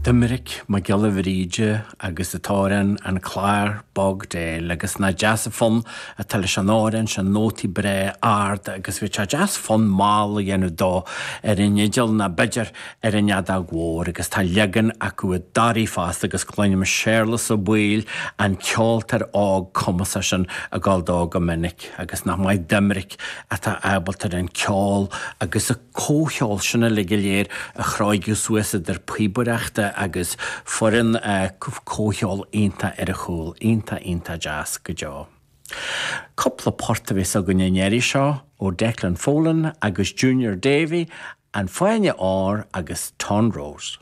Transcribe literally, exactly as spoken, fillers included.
Doiminic Mac Giolla Bhríde agus an t-amhrán An Clár Bog Déil agus nach deas an fonn atá leis an amhrán sin, nótaí breá arda agus bhí sé deas fonn mall a dhéanamh dó ar an fhidil ná b'fhéidir ar an fheadóg mhór agus tá leagan acu i dToraí fosta agus cluinim Séarlas Ó Baoill an ceoltóir óg cumasach sin ag gabháil dó go minic agus nach maith Doiminic atá ábalta ar an ceol agus an comhcheol sin uilig go léir a chróigeadh suas idir píobaireachta agus foireann comhcheol iontach ar a chúl, iontach iontach deas go deo. Cúpla port a bheas againn an iarraidh seo ó Declan Folan agus Junior Davy, An Fáinne Óir agus Tonn Rose.